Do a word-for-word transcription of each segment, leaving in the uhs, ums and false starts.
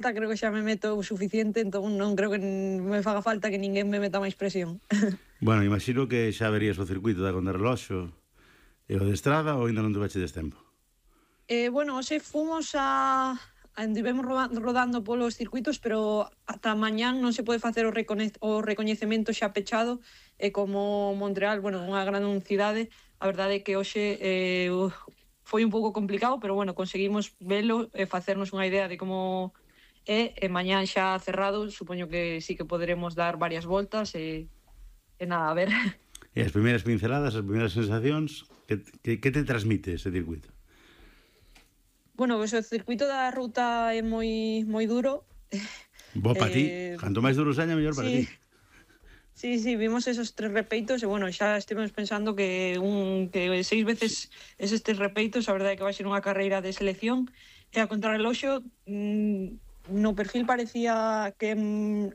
creo que xa me meto o suficiente, entón non creo que me faga falta que ninguén me meta máis presión. Bueno, imagino que xa verías o circuito da contrarreloxo e o de estrada ou ainda non te bachedes tempo? Eh, bueno, hoxe fomos a... Andivemos rodando polos circuitos, pero ata mañán non se pode facer o, recone... o recoñecemento xa pechado, e como Montreal, bueno, unha gran cidade, a verdade é que hoxe eh, foi un pouco complicado, pero bueno, conseguimos velo e facernos unha idea de como é, e mañán xa cerrado, supoño que sí que poderemos dar varias voltas e, e nada, a ver. E as primeiras pinceladas, as primeiras sensacións, que, que, que te transmite ese circuito? Bueno, pois o circuito da ruta é moi moi duro. Bo para eh, ti, canto máis duro seña, mellor para sí. ti. Sí, sí, vimos esos tres repeitos e, bueno, xa estivemos pensando que un que seis veces eses tres repeitos, a verdade é que vai ser unha carreira de selección, e a contrarreloxo mmm, no perfil parecía que,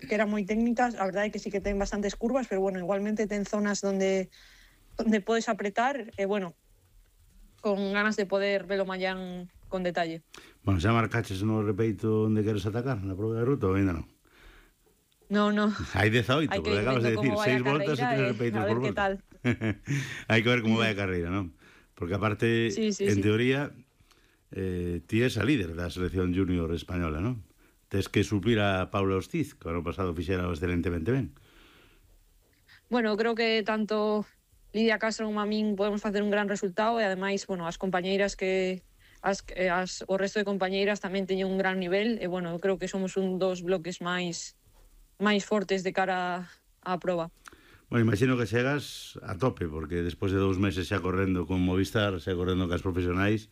que eran moi técnicas, a verdade é que sí que ten bastantes curvas, pero, bueno, igualmente ten zonas donde donde podes apretar, e, bueno, con ganas de poder velo mañán con detalle. Bueno, xa marcaches no repeito onde queres atacar, na prova de ruta ou ainda non? No, no. Hai dezaoito, porque acabas de decir seis voltas e tres repeitos por volta. Hai que ver como vai a carreira, non? Porque aparte, sí, sí, en sí. teoría, eh, ti és a líder da selección junior española, non? Tes que suplir a Paula Hostiz, que o ano pasado fixera excelentemente ben. Bueno, creo que tanto Lidia Castro como a min podemos facer un gran resultado, e ademais, bueno, as compañeiras que as, as, o resto de compañeiras tamén teñen un gran nivel, e, bueno, creo que somos un dos bloques máis máis fortes de cara á proba. Bueno, imagino que chegas a tope, porque despois de dous meses xa correndo con Movistar, xa correndo cas profesionais,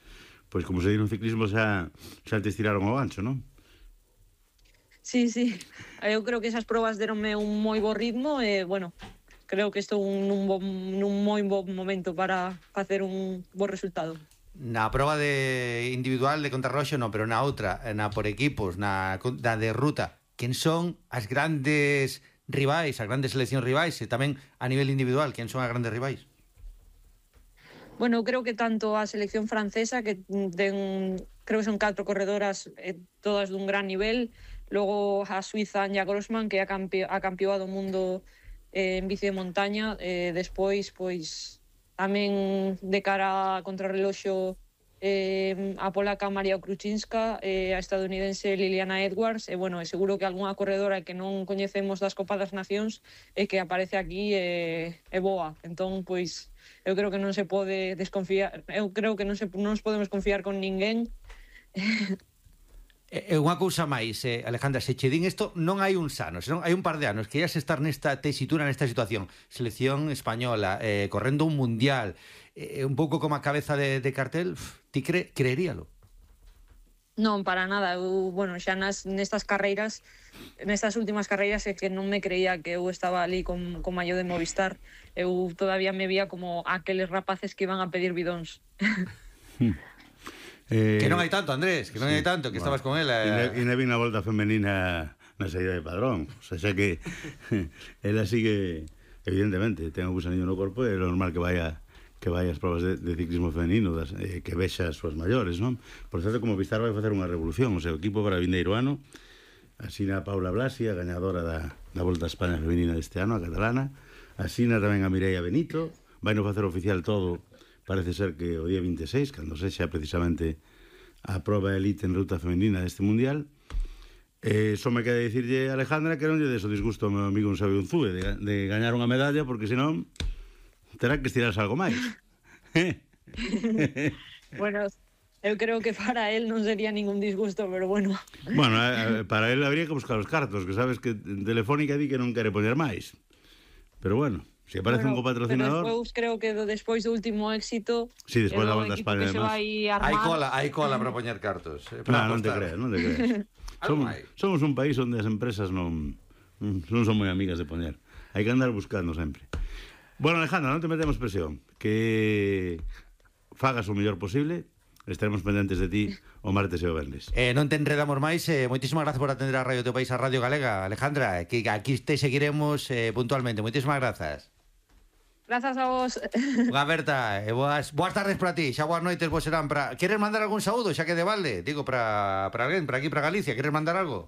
pois como se di no ciclismo xa, xa te estiraron o gancho, non? Sí, sí, eu creo que esas probas deronme un moi bo ritmo e, bueno, creo que estou nun, bo, nun moi bo momento para facer un bo resultado. Na proba de individual de contrarroxo non, pero na outra, na por equipos, na, na de ruta, quen son as grandes rivais, as grandes seleccións rivais, e tamén a nivel individual, quen son as grandes rivais? Bueno, creo que tanto a selección francesa, que ten, creo que son catro corredoras, eh, todas dun gran nivel, logo a Suiza Anja Grossman, que é a, campe, a campeoa do mundo eh, en bici de montaña, eh, despois, pois, tamén de cara a contrarreloxo, eh, a polaca Maria Kruczynska, eh, a estadounidense Liliana Edwards, e, bueno, é seguro que algunha corredora que non coñecemos das Copas das Nacións e que aparece aquí é, é boa. Entón, pois, eu creo que non se pode desconfiar, eu creo que non, se, non nos podemos confiar con ninguén. E unha cousa máis, eh, Alejandra, se che din isto, non hai uns anos, non hai un par de anos que ias estar nesta tesitura, nesta situación, selección española, eh, correndo un mundial, eh, un pouco como a cabeza de, de cartel, uf, ti cre, creeríalo? Non, para nada. Eu, bueno, xa nas, nestas carreiras, nestas últimas carreiras, é que non me creía que eu estaba ali con, con maillot de Movistar. Eu todavía me vía como aqueles rapaces que iban a pedir bidóns. Eh, que non hai tanto, Andrés, que non sí, hai tanto, que bueno, estabas con ela. E ne vin a volta femenina na saída de Padrón. O sea, xa que ela sigue, evidentemente, ten o gusanillo no corpo, é normal que vaya que vai as probas de, de ciclismo femenino, das, eh, que vexa as súas maiores, non? Por certo, como Movistar vai facer unha revolución, o seu equipo para vindeiro ano, asina a Paula Blasi, a gañadora da, da Volta a España femenina deste ano, a catalana, asina tamén a Mireia Benito, vai no facer oficial todo. Parece ser que o día vinte e seis, cando sexa precisamente a proba elite en ruta femenina deste mundial, eh, só me queda dicirlle a Alejandra que non lle des o disgusto ao meu amigo un Xavi Unzúe de, de gañar unha medalla, porque senón terá que estirarse algo máis. Bueno, eu creo que para él non sería ningún disgusto, pero bueno. Bueno, eh, para él habría que buscar os cartos, que sabes que Telefónica di que non quere poñer máis. Pero bueno, se aparece bueno, un copatrocinador... Pero despois creo que despois do último éxito... Sí, despois da Volta a España, además. Hai cola, hai cola para poñer cartos. Eh, para no, non te creas, non te creas. somos, somos un país onde as empresas non, non son moi amigas de poñer. Hai que andar buscando sempre. Bueno, Alejandra, non te metemos presión. Que fagas o mellor posible. Estaremos pendentes de ti o martes e o venres. Eh, non te enredamos máis, eh, moitísimas gracias por atender a Radio Teu País, a Radio Galega, Alejandra, que aquí te seguiremos eh, puntualmente. Moitísimas grazas. Grazas a vos. Unha aberta, e boas, boas tardes para ti, xa boas noites vos serán para... Queres mandar algún saúdo, xa que de balde? Digo, para, para alguén, para aquí, para Galicia, queres mandar algo?